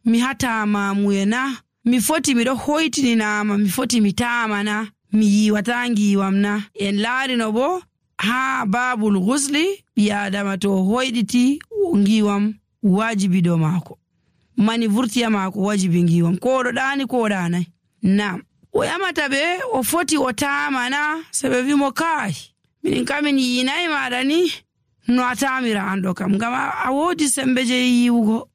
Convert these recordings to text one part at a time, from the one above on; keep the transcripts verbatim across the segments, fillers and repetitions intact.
mi hatama muye na, mi foti miɗo hoytininama, mi foti mi tama na, mi yiwata ngiwam na. En laarino bo ha babul ghusli ɓi adama to hoyditi ngiwam wajibi do mako, mani vurtiya mako wajibi ngiwam, ko do dani ko danai. Nam o yamata be o foti o tama na, sebe wi mo kai min kamin yinai maɗa ni no a tamira an ɗo kam, ngam a wodi sembe je yiwugo.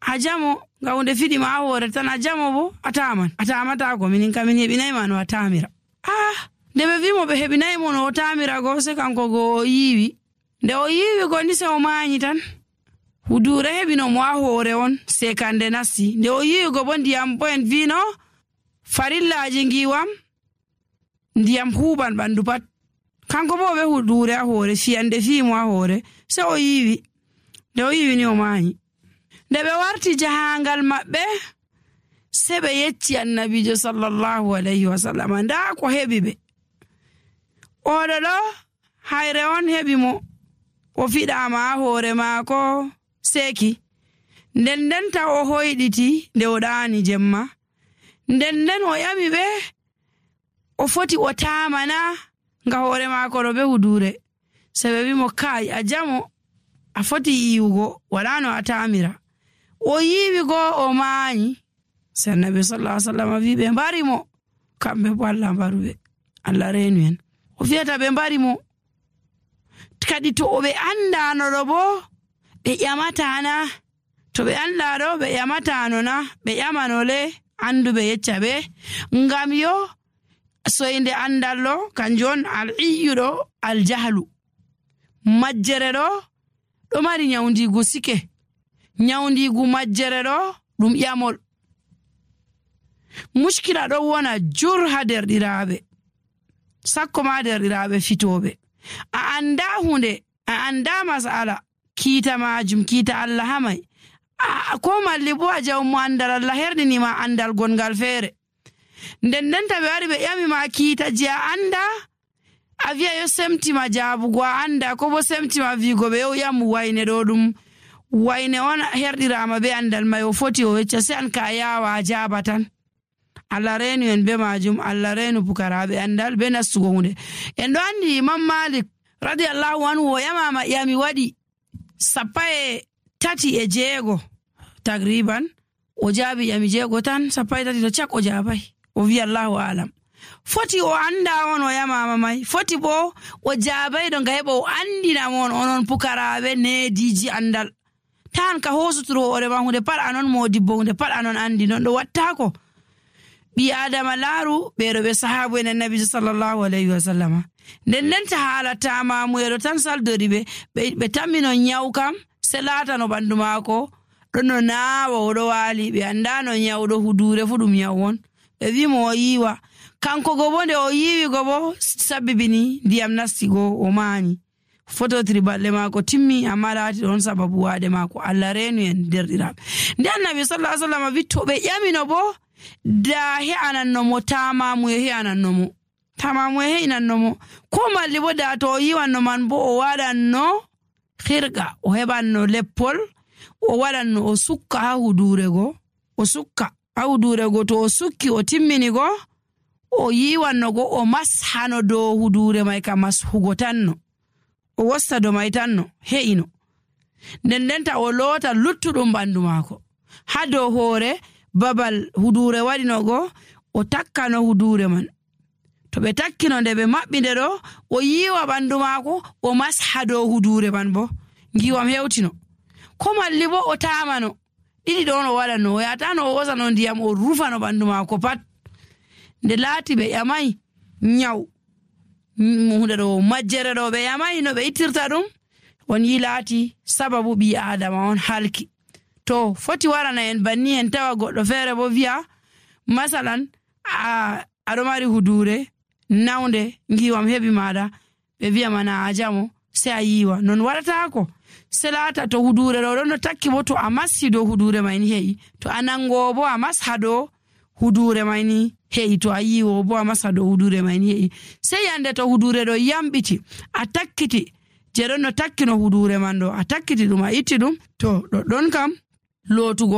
A jamo ngam hunde fiɗi ma a hore tan, a jamo bo a taman, a tamata ko min kamin heɓinai ma no a tamira. Ah, nde ɓe wi mo ɓe heɓinai mo no o tamira go, se kanko go o yiwi. Nde o yiwi go ni se o mañi tan. Hudure heɓino mo a hore on se kande nasti. Nde o yiwi go bo ndiyam bo en vino farillaji ngiwam ndiyam huban ɓandu pat. Kanko bo ɓe hudure a hore fiyande fimo a hore, se o yiwi. Nde o yiwi ni o mañi. Nde ɓe warti jahangal maɓɓe se ɓe yecci annabijo sallallahu alayhi wa sallam nda ko heɓi ɓe. Oɗo ɗo hayre on heɓi mo o fiɗama a hore maako seki. Nden nden ta o hoyɗiti nde o ɗani jemma. Nden nden o yami ɓe o foti o tamana nga hore maako ɗo ɓe hudure. Se ɓe wi mo kai a jamo, a foti yiwugo, wala no a tamira. O yiwi go o mañi. Se annabi sallallahu alaihi wasallam wi ɓe mbari mo, kamɓe bo Allah mbaruɓe, Allah renu en. O fiyata ɓe mbari mo. Kadi to ɓe andano ɗo bo ɓe ƴamatana, to ɓe andaɗo ɓe ƴamatano na, ɓe ƴamanole anduɓe yecca ɓe, ngam yo soyde andallo kanjon al iyuɗo al jahlu. Majjere ɗo ɗo mari nyawdigu sike, nyawdigu majjere ɗo ɗum ƴamol. Mushkila ɗo wona jur ha derɗiraɓe, sakko ma derɗiraɓe fitoɓe. A anda hunde, a anda masala, kiita majum kiita Allah hamai. A ko malli bo a jawmo andal Allah herdinima andal gongal feere. Nden nden ta ɓe wari ɓe ƴami ma kiita je a anda, a wiya yo semtima jabugo a anda, ko bo semtima wigo ɓe yo yamu wayne ɗo ɗum wayne on herɗirama be andal mai, o foti o wecca, se an ka yawa a jaba tan. Allah renu en be majum, Allah renu pukaraɓe andal be nastugo hunde. En ɗo andi Imam Malik radiyallahu anhu o yamama yami waɗi sappa e tati e jeego tagriban, o jaabi yami jeego tan, sappa e tati to cak o jaabai. O wi Allahu alam. Foti o anda on o yamama mai, foti bo o jaabai ɗo nga heɓa o andina mon onon pukaraɓe nediji andal. Tan ka hosuturo hoore ma hunde pat anon modibbo, hunde pat anon andi, non ɗo wattako. Bi adama laaru ɓeɗo ɓe sahabu en annabi sallallahu alayhi wa sallam. Nden nden ta haalata mamuyeɗo tan saldori ɓe ɓe tammino nyaw kam se laatano ɓandu maako ɗo no naawa oɗo waali, ɓe andano nyawɗo hudure fu ɗum nyaw won. Ɓe wimo o yiwa, kanko go bo nde o yiwi go bo sabbibini ndiyam nasti go o maani. Fototiri balle maako timmi, amma laati ɗon sababu waade maako. Allah renu en derɗiraɓe. Nde annabi sallallahu alayhi wa sallam wi to ɓe ƴamino bo da he ananno mo tamamu he ananno mo tamamu he inanno mo, ko malli bo da to o yiwanno man bo o waɗanno khirga, o heɓanno leppol o waɗanno o sukka ha hudure go, o sukka ha hudure go, to o sukki o timmini go o yiwanno go o mashano dow hudure mai ka mashugo tanno, o wosta do mai tanno he'ino. Nden ndenta o loota luttuɗum ɓandu maako ha dow hoore babal hudure waɗino go, o takkano hudure man. To ɓe takkino nde ɓe maɓɓinde ɗo, o yiwa ɓandu maako o masha dow hudure man bo ngiwam hewtino. Ko malli bo o tamano, ɗiɗi ɗon o waɗano, o yatano o wosano ndiyam o rufano ɓandu maako pat. Nde laati ɓe ƴamai nyaw hunde ɗo majjere ɗo, ɓe ƴamai no ɓe ittirta ɗum, on yi laati sababu ɓi adama on halki. To foti warana en banni en tawa goɗɗo feere bo wiya masalan a aɗo mari hudure nawnde ngiwam heɓi maɗa, ɓe wiya mana a jamo, se a yiwa. Non waɗatako, se laata to hudure ɗo ɗon no takki bo to a massi dow hudure mayni he'i, to a nango bo a masha dow hudure mayni he'i, to a yiwo bo a masha dow hudure mayni he'i. Se yande to hudure ɗo yamɓiti, a takkiti je ɗon no takkino hudure man ɗo, a takkiti ɗum a itti ɗum, to ɗoɗɗon kam lootugo